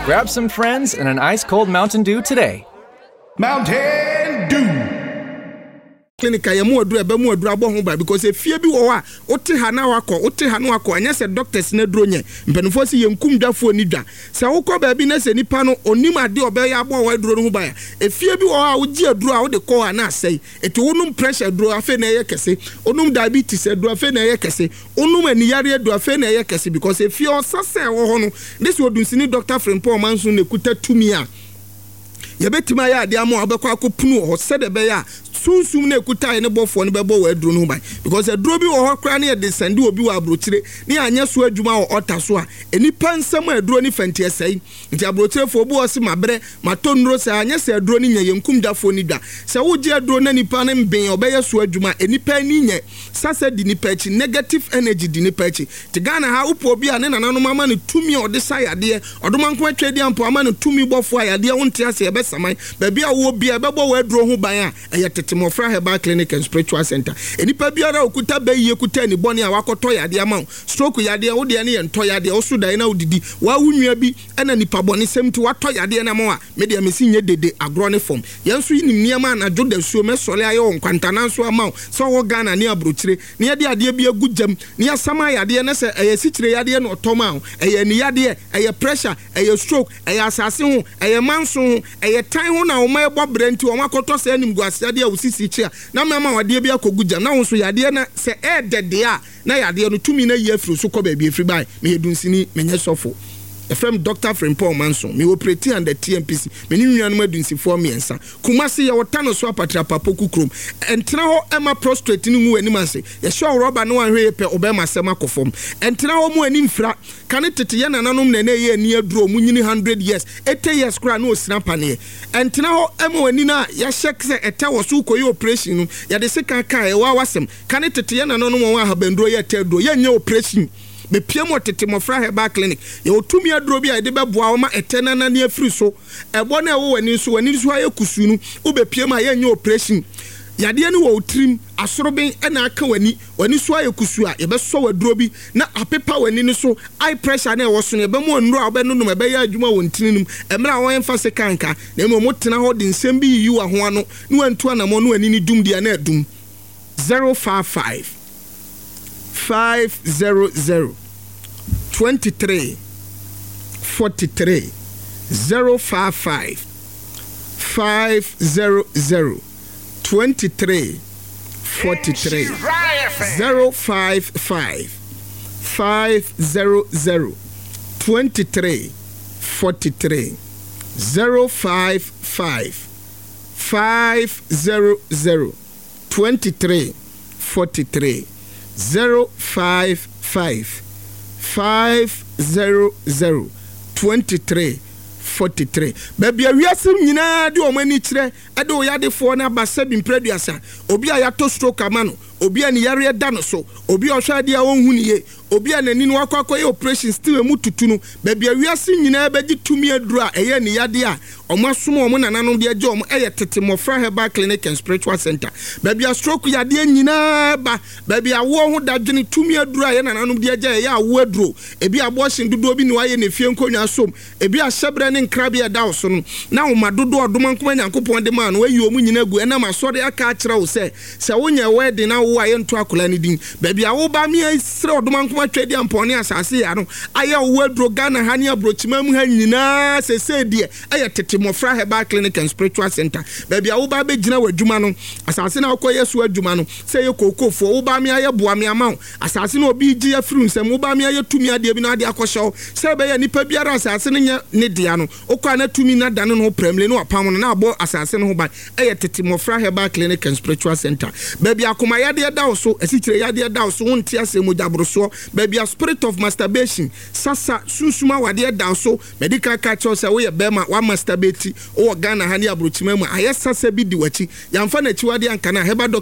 Grab some friends and an ice cold Mountain Dew today. Mountain Dew. Clinic a yɛmu aduro ɛbɛ mu aduro abɔ ho ba because efie bi wɔ hɔ a wote ha na wakɔ, wote ha na wakɔ. Ɛnyɛ sɛ doctors na aduro nyɛ. Mpanimfoɔ si yɛn kum dwafoɔ ni dwa sɛ wokɔ baabi na sɛ nipa no onim adeɛ ɔbɛyɛ abɔ wɔ aduro no ho ban a, efie bi wɔ hɔ a wogye aduro a wode kɔ hɔ a na asɛe. Eti wonom pressure aduro, afei na ɛyɛ kɛse. Wonom diabetes aduro, afei na ɛyɛ kɛse. Wonom aniyare aduro, afei na ɛyɛ kɛse, because efie ɔsasa ɛwɔ hɔ no ne sɛ Odunsini Dr. Frimpong Ɔmanso na ekuta tumi a yɛbɛtumi ayɛ adeɛ ama a wobɛkɔ akɔpunu wɔ hɔ, sɛdeɛ ɛbɛyɛ a sunsum no ekuta yɛ ne bɔfoɔ no bɛbɔ wɔ aduro no ho ban, because aduro bi wɔ hɔ koraa ne yɛde sɛnde obi wɔ aburokyire ne yɛanyɛ so adwuma wɔ ɔta so a, nipa nsɛm a aduro ne fɛnti ɛsɛe. Nti aburokyirefoɔ obi wɔ se mabrɛ matɔ nnuro saa, anyɛ sɛ aduro no nyɛ. Yɛnkum dwafoɔ ni dwa sɛ wogye aduro na nipa no mbɛn ɔbɛyɛ so adwuma. Nipa ani nyɛ sasa di nipa akyi, negative energy di nipa akyi. Te Ghana ha, wopɛ obi a ne nananom ama no tumi a ɔde sa yadeɛ, Ɔdomankoma atwa adi ampo ama no tumi bɔfoɔ a yadeɛ wonte ase ɛbɛsaman baabi a wowɔ bia ɛbɛbɔ wɔ aduro ho ban a ɛyɛ Tete Mmɔfra Herbal Clinic and Spiritual Center. Nipa biara a okuta bɛyie kuta ani bɔne a wakɔtɔ yadeɛ ama wo, stroke yadeɛ, wo deɛ no yɛ ntɔ yadeɛ, wo so daeɛ na wodidi waa wo nua bi ɛna nipa bɔne sɛm nti watɔ yadeɛ no ama wo a, me deɛ mesi nyɛ dede agorɔ ne fam. Yɛn nso nim nneɛma anadwo da suo mɛsɔre ayɛ wɔ nkwantanan so ama wo sɛ ɔwɔ Ghana ne aburokyire na yɛde adeɛ bi agu gyam na yɛasam ayadeɛ na sɛ ɛyɛ sikyire yadeɛ na ɔtɔ ma wo, ɛyɛ ani yadeɛ, ɛyɛ pressure, ɛyɛ stroke, ɛyɛ asase ho, ɛyɛ manso ho, ɛyɛ tan ho na wɔn ɛbɔ brɛ nti wɔn akɔtɔ sɛ animguase adeɛ a wosisi kyi a na mɛma wadeɛ bi akɔgu gyam na wɔn nso yadeɛ na sɛ ɛɛdɛ deɛ a na yadeɛ no tumi na yi afiri so kɔ baabi efiri ban. Meyɛ dunsini, menyɛ sɔfo. Ɛfrɛ m Dr. Frimpong Manso. Me operate under TMPC. Me ne nuanom adunsifoɔ mmiɛnsa. Kumase, yɛwɔ Tano so Apatrapa Poku kurom. Ɛntena hɔ ɛma prostrate no ngu w'anim ase. Yɛhyɛ ɔrɔba ne wanhwɛ yɛ pɛ ɔbɛma asɛm akɔ fam. Ɛntena hɔ mu ani mfira. Kane tete yɛ nananom na ɛna ɛyɛ ani aduro. Ɔmo nyini 100 years, 80 years koraa na osina paneɛ. Ɛntena hɔ ɛma w'ani no a yɛahyɛ sɛ ɛtɛ wɔ so kɔyɛ operation no, yɛde sekan kaa ɛwɔ awasɛm. Kane tete yɛ nananom wɔn ahabanduro yɛ ɛtɛ aduro. Yɛnyɛ operation. Bepie mu wɔ Tete Mmɔfra Herbal Clinic. Yɛwɔ tumi aduro bi a yɛde bɛboa wo ma ɛtɛ no anane afiri so. Ɛbɔ no a ɛwɔ w'ani so, w'ani so ayɛ kusuu no, wobɛpie mu a yɛnyɛ operation. Yadeɛ no wɔ wo tirim, asoroben na aka w'ani, w'ani so ayɛ kusuu a, yɛbɛsɔ w'aduro bi na apepa w'ani no so. Eye pressure no a ɛwɔ so no, yɛbɛma nnuro a wobɛnonom ɛbɛyɛ adwuma wɔ ntini no mu. Mmerɛ a wɔmfa sekan nka, na mmom wotena hɔ de nsɛm bi yiyi w'aho ano na wantu anammɔn na w'ani no dum deɛ na adum. 055 500 23 43, 055 500 23 43, 055 500 23 43, 055 500 23 43, 055 500 23 43. Baabi a wiase nyinaa de wɔn ani kyerɛ de wo yadefoɔ no aba sɛ bi mprɛduasa, obi a yɛatɔ stroke ama no, obi a ne yareɛ da no so, obi a ɔhwɛ adeɛ a ɔnhu ne yie, obi a n'ani no wakɔ akɔyɛ operation still emu tutu no, baabi a wiase nyinaa bɛgye tumi aduro a ɛyɛ ne yadeɛ a ɔmo asom ɔmo nananom de agye ɔmo ɛyɛ Tete Mmɔfra Herbal Clinic and Spiritual Center. Baabi a stroke yadeɛ nyinaa ba, baabi a awoɔ ho dadwene, tumi aduro a yɛ nananom de agye ɛyɛ awoɔ aduro, ebi abortion dodoɔ bi na wayɛ ne fie nkonnwa som, ebi ahyɛbrɛ ne nkrabea ɛda wo so no na woma dodoɔ ɔdoma nkoma Nyankopɔn de maa no ayi ɔmo nyinaa gu ɛnam asɔre aka akyerɛ wo sɛ sɛ wonyɛ wedding na wowɔ a yɛnto akwadaa no din. Baabi a woba me srɛ Ɔdoma nkoma twɛ di ampɔn ne asase yɛ ano ayɛ wo aduro Ghana ha ne aburokyima mu ha nyinaa sesei deɛ ɛyɛ Tete Mmɔfra Herbal Clinic and Spiritual Center. Baabi a woba bɛgyina w'adwuma no, asase na wokɔyɛ so adwuma no, sɛ ɛyɛ kookofoɔ, woba me ayɛ boa me ama wo asase no, obi gye afiri nsɛm, woba me ayɛ tumi adeɛ bi na ade akɔhyɛ wo sɛ ɛbɛyɛ nipa biara asase no nyɛ ne dea no, wokɔ a na tumi na dane no ho prɛmle na wapam no na abɔ asase no ho ban. Ɛyɛ Tete Mmɔfra Herbal Clinic and Spiritual Center. Baabi akoma yadeɛ da wo so, asikyire yadeɛ da wo so, wonte aseɛ, mogyaborosoɔ, baabi a spirit of masturbation, sasa sunsum awadeɛ da wo so. Mɛdi kan ka kyerɛw sɛ woyɛ bɛrima wa masturbate wowɔ Ghana ha ne aburokyima mu a ayɛ sasa bi di w'akyi, yɛamfa n'akyiwadeɛ anka no a herbal doctor.